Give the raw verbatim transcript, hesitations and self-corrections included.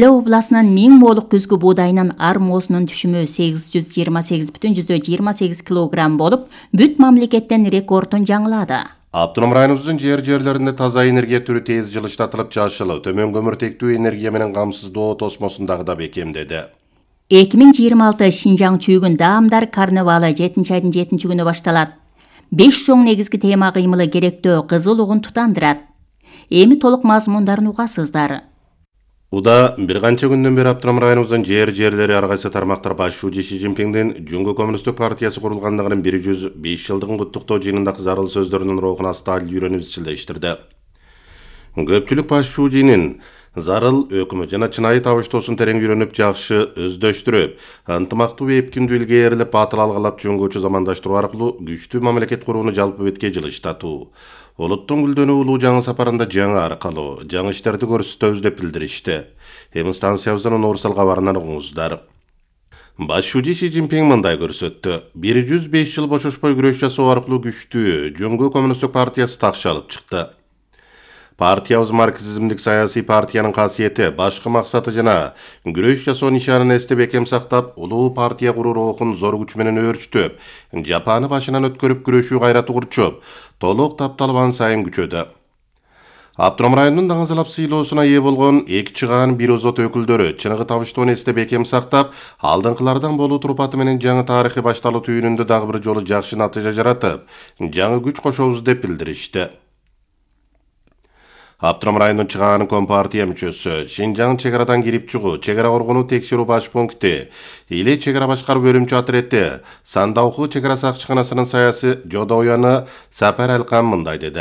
Ыле областынын миң моолук күзгү буудайынын ар моосунун түшүмү сегиз жүз жыйырма сегиз бүтүн жүздөн жыйырма сегиз килограмм болуп, бүт мамлекеттен рекордун жаңылады. Автоном районубуздун жер жерлеринде таза энергия түрү тез жылыштатылып жашыл, төмөн көмүртектүү энергия менен камсыздоо тосмосундагы да бекемдеди. эки миң жыйырма алты Шинжаң чүйгүн даамдар карнавалы жетинчи айдын жетинчи күнү башталат. беш чоң негизги тема кыймылы керектөө кызыл угун тутандырат. Эми толук мазмундарын угасыздар. Уда бир канча күндөн бери Автоном районубуздун жер жерлери ар кайсы тармактар башчуу Ши Цзиньпиндин Жуңгу коммунисттик партиясы курулгандыгынын бир жүз беш жылдыгын куттуктоо жыйынындагы зарыл сөздөрүнүн рухуна сталь үйрөнүп изчилдештирди. Көпчүлүк башчуу жыйынын зарыл өкмөт жана чынайы табыштоосун терең үйрөнүп жакшы өздөштүрүп, ынтымактуу эпкиндүү илгээрлеп батыл алгалап жөнгөчү замандаштыруу аркылуу күчтүү мамлекет курууну жалпы бетке жылыштатуу. Улуттун гүлдөнүү улуу жаңы сапарында жаңы аркалуу, жаңы иштерди көрсөтөбүз деп билдиришти. Эми станциябыздын универсал кабарынан угуңуздар. Башчуу Ши Цзиньпин мындай көрсөттү. бир жүз беш жыл бошошпой күрөш жасоо аркылуу күчтүү Жуңгу коммунисттик партиясы такшы алып чыкты. Партиябыз марксизмдик саясий партиянын касиети, башкы максаты жана күрөш жасоо нишанын эсте бекем сактап, улуу партия куруу рухун зор күч менен өөрчүтүп, жапаны башынан өткөрүп күрөшүү кайраты курчуп, толук тапталып ан сайын күчөдү. Автоном районунун даңазалап сыйлоосуна ээ болгон эки чыгаан бир озот өкүлдөрү чыныгы табыштоону эсте бекем сактап, алдыңкылардан болуу турпаты менен жаңы тарыхый башталуу түйүнүндө дагы бир жолу жакшы натыйжа жаратып, жаңы күч кошобуз деп билдиришти. Автоном районунун чыгаан компартия мүчөсү, Шинжаң чек арадан кирип чыгуу, чек ара коргонуу текшерүү баш пункти, Иле чек ара башкаруу бөлүмчө отретти, Сандауку чек ара сакчыканасынын саясий жодоюяны Сапар Алкан мындай деди.